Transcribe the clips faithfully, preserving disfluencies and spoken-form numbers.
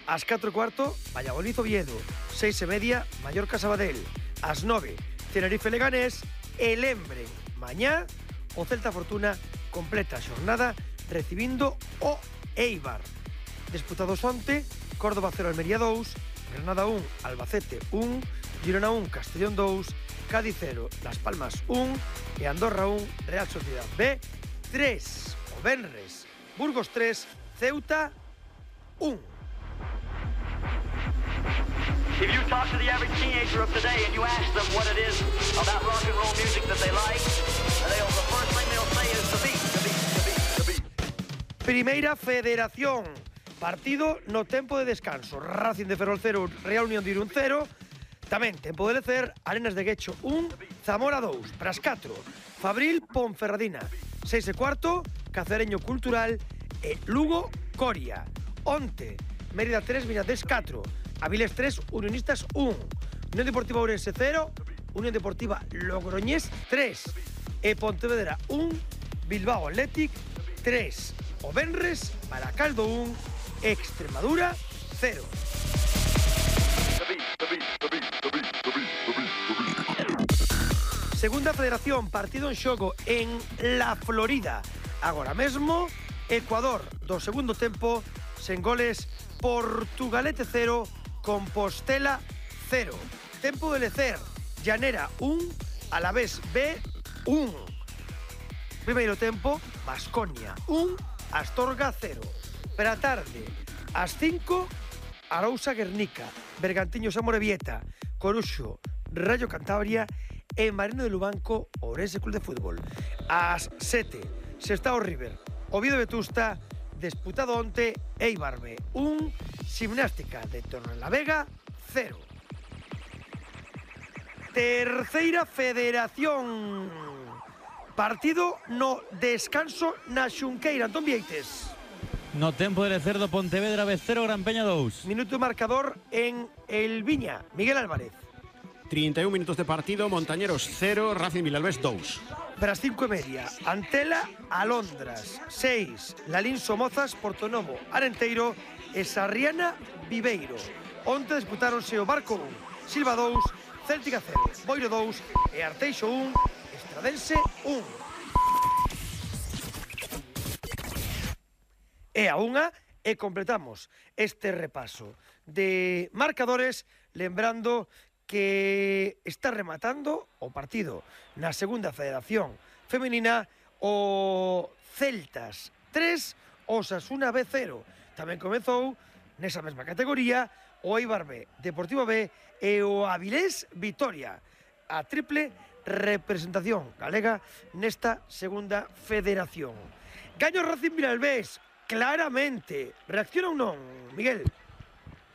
Ás catro e cuarto, Valladolid Oviedo. Seis e media, Mallorca Sabadell. Ás nove, Tenerife Leganés. E lembren, mañá o Celta Fortuna completa a xornada recibindo o Eibar. Disputados onte, Córdoba cero, Almería dous, Granada un, Albacete un, Girona un, Castellón dous, Cádiz cero, Las Palmas un e Andorra un, Real Sociedad B tres. O venres, Burgos tres, Ceuta un. If you talk to the average teenager of today and you ask them what it is about rock and roll music that they like, they'll, the first thing they'll say is the beat, the beat, the beat, the beat. Primeira Federación. Partido no tempo de descanso. Racing de Ferrol cero, Real Unión de Irún cero. Tamén tempo de lecer, Arenas de Guecho un, Zamora dous, Pras catro, Fabril Ponferradina. Seis e cuarto, Cacereño Cultural e Lugo Coria. Onte, Mérida tres, Viñadés catro, Avilés tres, Unionistas un, Unión Deportiva Ourense cero, Unión Deportiva Logroñés tres e Pontevedra un, Bilbao Athletic tres. O venres, Baracaldo un, Extremadura cero. Segunda Federación, partido en xogo en La Florida. Agora mesmo, Ecuador do segundo tempo, sen goles, Portugalete cero, Compostela cero. Tempo de lecer, Llanera un, Alavés B un. Primeiro tempo, Baskonia un, Astorga cero. Para tarde, ás cinco, Arousa Guernica, Bergantiños Amorebieta, Coruxo, Rayo Cantabria e Marino de Lubanco, Ourense Club de Fútbol. Ás sete, Sestao River, Oviedo Vetusta, disputado onte, Eibar B un, Gimnástica de Torrelavega cero. Terceira Federación. Partido no descanso na Xunqueira. Antón Vieites. No tempo de lecer do Pontevedra B cero, Gran Peña dous. Minuto marcador en El Viña. Miguel Álvarez. trinta e un minutos de partido, Montañeros cero, Racing Vilalbés dous. Para as cinco e media, Antela, Alondras. seis, Lalín Somozas, Portonovo, Arenteiro e Sarriana, Viveiro. Onte disputáronse o Barco un, Silva dous, Céltica cero, Boiro dous e Arteixo un, Estradense un. E a unha e completamos este repaso de marcadores, lembrando que está rematando o partido na segunda Federación Femenina, o Celtas tres, Osasuna B cero. Tamén comezou nesa mesma categoría o Eibar B, Deportivo B e o Avilés Vitoria. A triple representación galega nesta segunda Federación. Gaño Racing Vilalbés, claramente. Reacciona ou non, Miguel?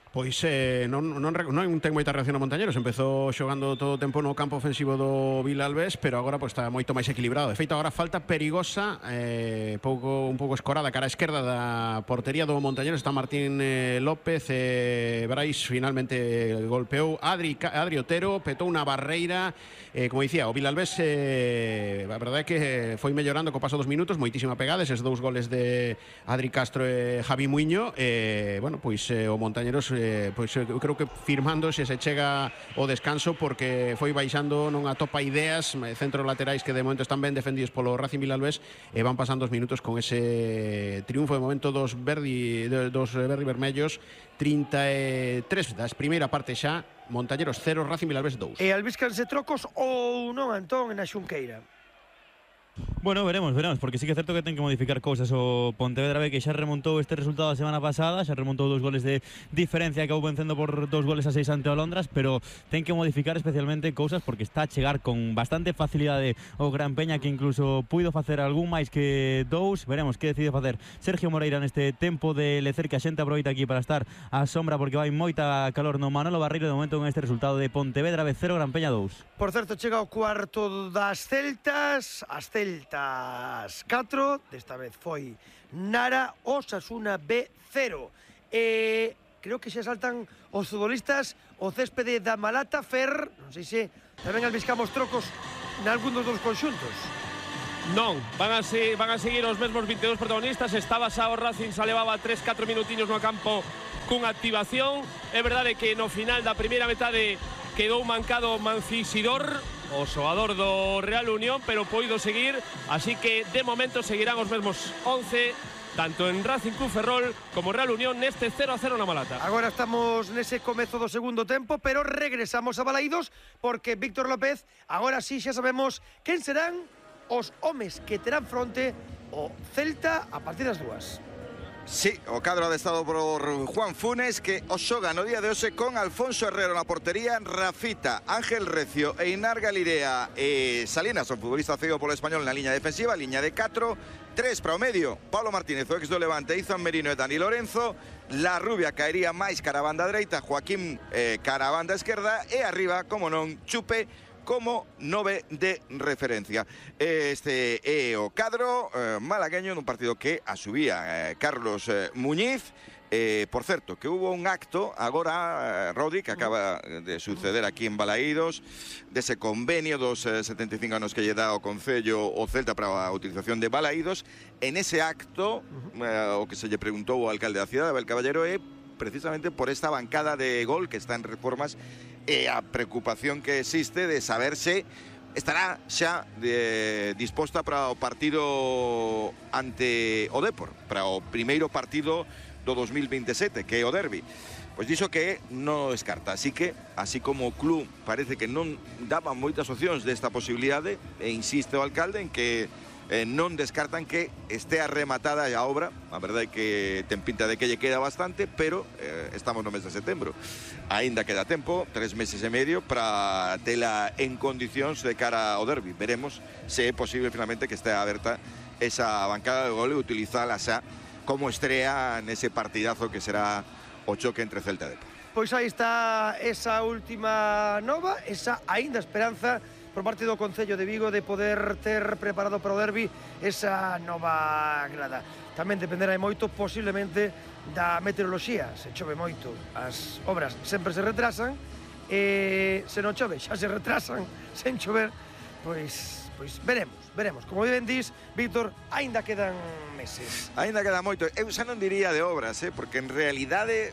Pois eh, non, non, non ten moita reacción a Montañeros. Empezou xogando todo o tempo no campo ofensivo do Vilalbés, pero agora pois, está moito máis equilibrado. De feito, agora falta perigosa, eh, pouco, un pouco escorada cara a esquerda da portería do Montañeros. Está Martín eh, López, eh, Brais finalmente golpeou Adri, Adri Otero, petou unha barreira. Eh, como dicía, o Vilalbés eh, a verdade é que foi mellorando co paso dos minutos, moitísima pegada, eses dous goles de Adri Castro e Javi Muiño. Eh, bueno, pois eh, o Montañeros Eh, pois eu creo que firmando se se chega o descanso, porque foi baixando, non atopa ideas, centros laterais que de momento están ben defendidos polo Racing Vilalbés, e van pasando os minutos con ese triunfo de momento dos verdi, dos verdi vermellos. Trinta e tres das primeira parte xa, Montañeros cero, Racing Vilalbés dous. E albíscanse trocos ou non, Antón, na Xunqueira? Bueno, veremos, veremos, porque sí que é certo que ten que modificar cousas o Pontevedra B, que xa remontou este resultado a semana pasada, xa remontou dos goles de diferencia, acabou vencendo por dos goles a seis ante o Londras, pero ten que modificar especialmente cousas, porque está a chegar con bastante facilidade o Gran Peña, que incluso puido facer algún máis que dous. Veremos que decide facer Sergio Moreira neste tempo de lecer, que a xente aproveita aquí para estar á sombra, porque vai moita calor no Manolo Barreiro de momento con este resultado de Pontevedra B cero, Gran Peña dous. Por certo, chega o cuarto das Celtas, as Celtas catro, desta vez foi Nara, Osasuna B cero. E creo que xa saltan os futbolistas o céspede da Malata. Fer, non sei se tamén albiscamos trocos nalgún dos dos conxuntos. Non, van a, se, van a seguir os mesmos vinte e dous protagonistas. Estaba xa o Racing, xa levaba tres catro minutiños no campo cunha activación. É verdade que no final da primeira metade quedou mancado Mancisidor, o xogador do Real Unión, pero poido seguir, así que de momento seguirán os mesmos once, tanto en Racing Club Ferrol como Real Unión neste cero a cero na Malata. Agora estamos nese comezo do segundo tempo, pero regresamos a Balaídos porque Víctor López, agora sí xa sabemos quen serán os homes que terán fronte o Celta a partir das dúas. Sí, o cadro adestado por Juan Funes, que os xoga no día de hoxe con Alfonso Herrero na portería, Rafita, Ángel Recio e Inar Galirea e Salinas, o futbolista cedido polo Español na liña defensiva, liña de catro, tres para o medio, Pablo Martínez, o ex do Levante, Izan Merino e Dani Lorenzo, La Rubia caería máis cara a banda dereita, Joaquín eh, cara a banda esquerda e arriba, como non, Chupe como nove de referencia. Este é o cadro eh, malagueño nun partido que asubía eh, Carlos eh, Muñiz. Eh, por certo, que hubo un acto agora, eh, Rodri, que acaba de suceder aquí en Balaídos, dese convenio dos eh, setenta e cinco anos que lle dá o Concello o Celta para a utilización de Balaídos. En ese acto, eh, o que se lle preguntou ao alcalde da cidade, Abel Caballero, é precisamente por esta bancada de gol que está en reformas e a preocupación que existe de saber se estará xa de, disposta para o partido ante o Depor, para o primeiro partido do dos mil veintisiete, que é o derbi. Pois dixo que non descarta, así que, así como o club parece que non daba moitas opcións desta posibilidade, e insiste o alcalde en que eh, non descartan que estea rematada a obra. A verdade é que ten pinta de que lle queda bastante, pero eh, estamos no mes de setembro. Ainda queda tempo, tres meses e medio, para tela en condicións de cara ao derbi. Veremos se é posible finalmente que estea aberta esa bancada de gol e utilizala xa como estrea nese partidazo que será o choque entre Celta e Depor. Pois aí está esa última nova, esa aínda esperanza por parte do Concello de Vigo de poder ter preparado para o derbi esa nova grada. Tamén dependerá moito posiblemente da meteoroloxía. Se chove moito, as obras sempre se retrasan, e se non chove xa se retrasan sen chover, pois, pois veremos, veremos. Como ben dis, Víctor, aínda quedan meses. Aínda queda moito. Eu xa non diría de obras, eh, porque en realidade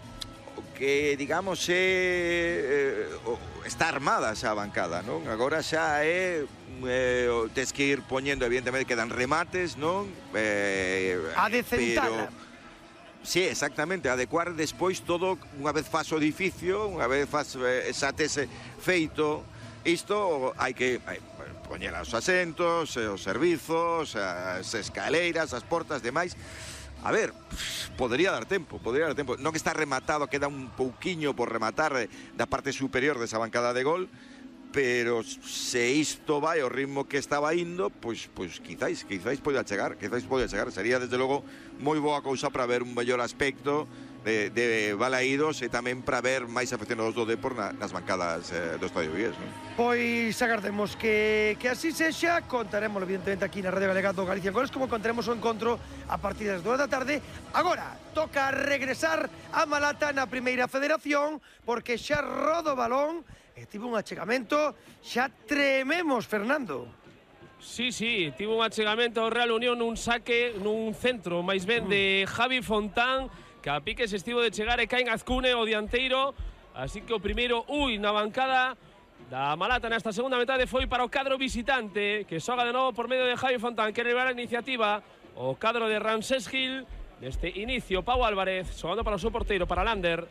o que, digamos, é, eh, está armada xa a bancada, non? Agora xa é, eh, tes que ir poñendo, evidentemente, quedan remates, non? Eh, a decentala. Pero sí, exactamente, adecuar despois todo, unha vez faz o edificio, unha vez faz eh, xa tese feito isto, hai que hai, poñer os asentos, os servizos, as escaleiras, as portas, demais. A ver, podría dar tempo, podría dar tempo. Non está rematado, queda un pouquiño por rematar da parte superior desa bancada de gol, pero se isto vai ao ritmo que estaba indo, pois, pois quizáis, quizáis poida chegar, quizáis poida chegar. Sería, desde logo, moi boa cousa para ver un mellor aspecto de, de Balaídos e tamén para ver máis afeccionados do Depor na, nas bancadas eh, do Estadio Vies, non? Pois agardemos que, que así sexa. Contaremos evidentemente aquí na Radio Galega do Galicia Goles, como contaremos o encontro a partir das dúas da tarde. Agora toca regresar a Malata na Primeira Federación, porque xa rodo o balón e tivo un achegamento. Xa trememos, Fernando. Sí, sí, tivo un achegamento ao Real Unión nun saque, nun centro máis ben de Javi Fontán, que a pique se estivo de chegar e caen Azcune o dianteiro. Así que o primeiro, ui, na bancada da Malata nesta segunda metade foi para o cadro visitante, que xoga de novo por medio de Javi Fontán, que levar a iniciativa o cadro de Ramsés Gil. Neste inicio, Pau Álvarez xogando para o seu porteiro, para Lander.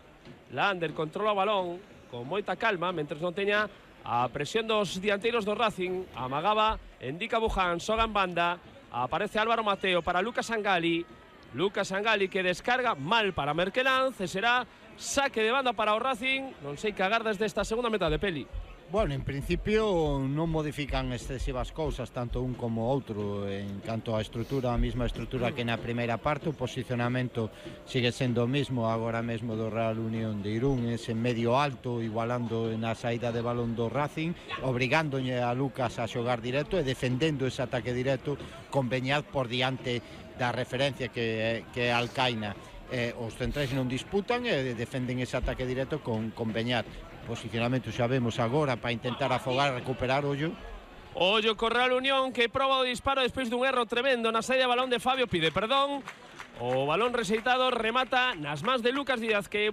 Lander controla o balón con moita calma, mentres non teña a presión dos dianteiros do Racing. Amagaba Endica Buján, xoga en banda, aparece Álvaro Mateo para Lucas Angali. Lucas Angali que descarga mal para Merkelanz, e será saque de banda para o Racing. Non sei que agardas desta segunda metade, Peli. Bueno, en principio non modifican excesivas cousas, tanto un como outro. En canto á estrutura, a mesma estrutura que na primeira parte, o posicionamento sigue sendo o mesmo agora mesmo do Real Unión de Irún, ese medio alto, igualando na saída de balón do Racing, obrigándolle a Lucas a xogar directo e defendendo ese ataque directo con Beñat por diante da referencia que, que é Alcaina. Eh, os centrais non disputan e defenden ese ataque directo con, con Beñat. Posicionamento xa vemos agora para intentar afogar, recuperar ollo. Ollo co Real Unión, que proba o disparo despois dun erro tremendo na saída de balón de Fabio, pide perdón. O balón rexeitado remata nas mans de Lucas Díaz, que